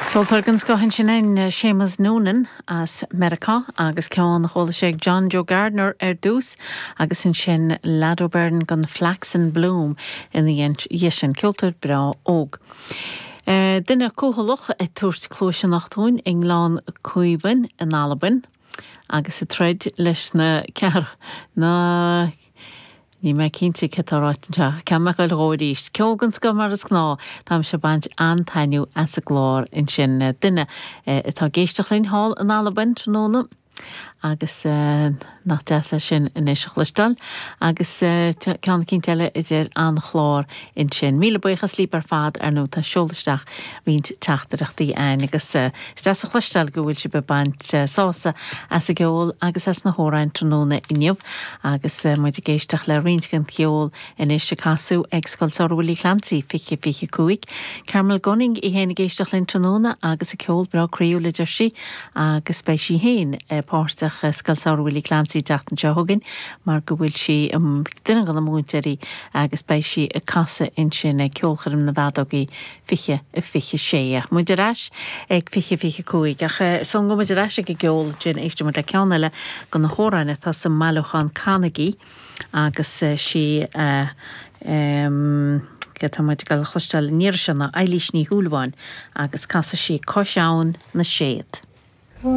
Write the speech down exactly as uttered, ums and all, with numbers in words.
Ceoltóir den scoth ansin é Seamus Noonan as Meiriceá agus ceann chuala sé John Joe Gardner ar dtús agus ansin Lado Byrne gan Flax and Bloom ina dhiaidh sin ceoltóir breá óg. Uh, duine cúthalach ag tabhairt cluas anocht dúinn i nGleann Caoimhin in Albain agus ag troid leis na cear na Ní mé cinnte cé tá ráite ce me goil róíist. Ceol den scoth mar is gnáth Tá sé baint an-taitneamh as an gclár ansin duine atá ag éisteacht linn thall in Albain tráthnóna. agus uh, nach deas sin anois a chloisteáil agus uh, ceann cinn eile idir an chlár ansin. Míle buíochas libh ar fad ar nó tá seolaisteach roinnt teachtaireachtaí ann agus uh, is deas a chloisteáil go bhfuil sibh ag baint uh, sásamh as an gceol agus as na hamhráin tráthnóna inniu agus uh, muid ag éisteacht le roinnt den cheol anois a casadh ag Scoil Samhraidh Willie Clancy fiche fiche cúig. Carmel Gunning í héin ag éisteacht linn tráthnóna agus a ceol breá croíúil a deir sí agus beidh sí héin páirteach Scoil Samhraidh Willie Clancy an tseachtain seo chugainn mar go bhfuil sí um, duine de na múinteoirí agus beidh sí ag casadh ansin ag ceolchoirm na bhfeadógaí fiche a fiche sé. Muid ar ais ag fiche fiche cúig ach sula ngabhann muid ar ais ag an gceol sin éistfidh muid le ceann eile de na hamhráin atá sa mbailiúchán Canaigí agus sí uh, um, tá muid ag cloisteáil an iarraidh seo ná Eilís Ní Shúilleabháin agus casfaidh sí Cois Abhann na Séad.